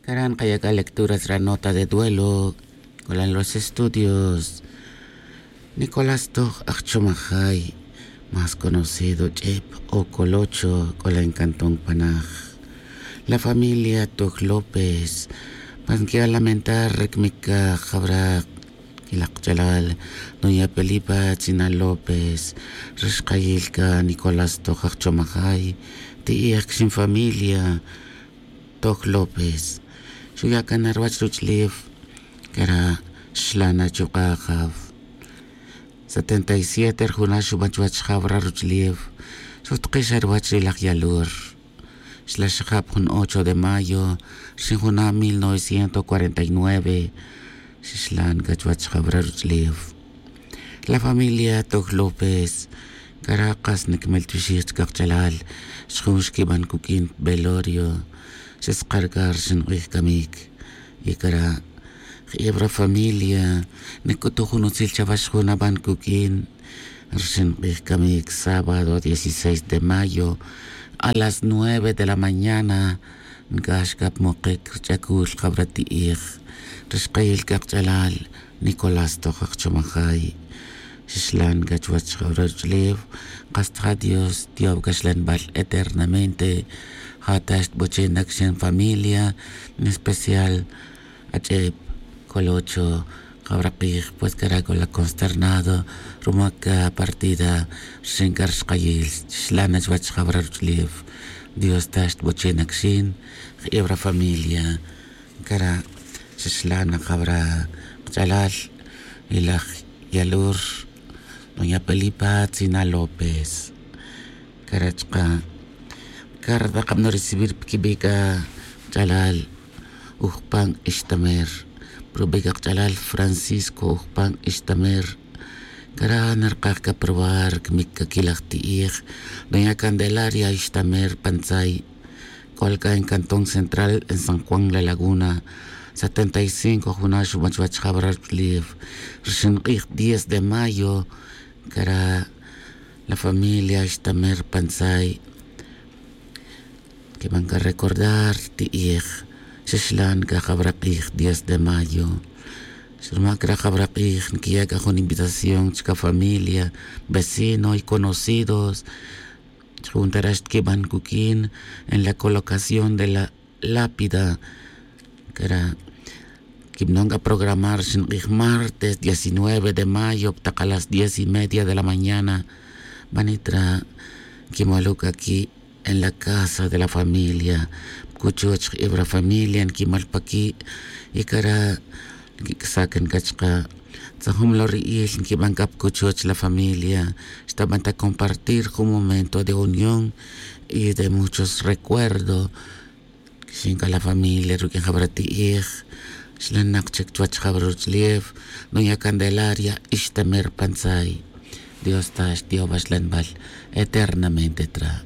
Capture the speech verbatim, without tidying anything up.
Cara' nkaya' c'a lecturas ra nota de duelo. C'olan los estudios. Nicolás toj ajchomajay, más conocido ch'ep o colocho, c'olan cantón panaj. La familia toj López, pues nquiya' lamentar ri cmic c'a jawra' quilaj kach'alal, doña Felipa Tzina López, ri xkayil c'a Nicolás toj ajchomajay. Ti'ij quixin familia toj López, xuya' can na ruwach ruch'ulef. Cara' xlan na chuk'a' jaw. Setenta y siete ri juna' xuban chuwech jaw ra ruch'ulef. Xujtikix xa ruwach ri laj yalur. Xla xajab jun ocho de mayo rixin juna' mil novecientos cuarenta y nueve. Xixlan c'a chuwech jaw ra ruch'ulef. La familia toj López, cara' kas niquimel tibixij chic kach'alal. Xjun xquiban cuq'uin velorio. Xeskar c'a rixin k'ij camic. Y cara' je'eb ra familia, nic'utuj jun utzil chawe xjun aban cuq'uin. Rixin k'ij camic sábado dieciséis de mayo, a las nueve de la mañana nc'ax c'a pa mokic ri ch'acul jawra ti'ij. Ri xkayil c'a kach'alal, Nicolás toj ajchomajay. Xixlan c'a chuwech jawra ruch'ulef. Kas ta ja Dios tiyow c'a xlanbal eternamente. Ja ta xtboche' na quixin familia, en especial ach'ep, colocho, jawra k'ij, pues cara' c'o la consternado ruma c'a partida rixin c'a ri xkayil. Xixlan na chuwech jawra ruch'ulef. Dios ta xtboche' na quixin. Je'eb ra familia, cara' xixlan na jawra kach'alal. Y laj yalur, doña Felipa Tzina López. Cara' chaka', cara' ta kabano recibir pa quibi' c'a kach'alal Ujpan Ixtamer. Pa rubi' c'a kach'alal Francisco Ujpan Ixtamer. Cara' narkaj c'a pa ruwar cmic c'a quilaj ti'ij, doña Candelaria Ixtamer Pantzay. C'ol c'a en cantón central en San Juan La Laguna. Setenta y cinco juna' xuban chuwech jawra ruch'ulef. Rixin k'ij diez de mayo, cara' la familia Ixtamer Pantzay quiban c'a recordar ti'ij. Xixlan c'a jawra k'ij diez de mayo. Ruma cara' jawra k'ij niquiya' c'a jun invitación chic a familia, vecino y conocidos. Jun ta ra xtiquiban cuq'uin en la colocación de la lápida. Cara' quibanon c'a programar rixin k'ij martes diecinueve de mayo pa tak a las diez y media de la mañana. Banit ra quimol u c'a qui' en la casa de la familia. Pa cuchuch je'eb ra familia niquimol pa qui'. Y cara' niquic'asa' can c'a chaka'. Tzajum lo ri'il niquiban c'a pa cuchuch la familia. Xtaban ta compartir jun momento de unión y de muchos recuerdos. Quixin c'a la familia ruq'uin jawra ti'ij. Xlanak chic chuwech jawra ruch'ulef, doña Candelaria Ixtamer Pantzay. Dios ta xtiyow awaxlanbal eternamente tra'.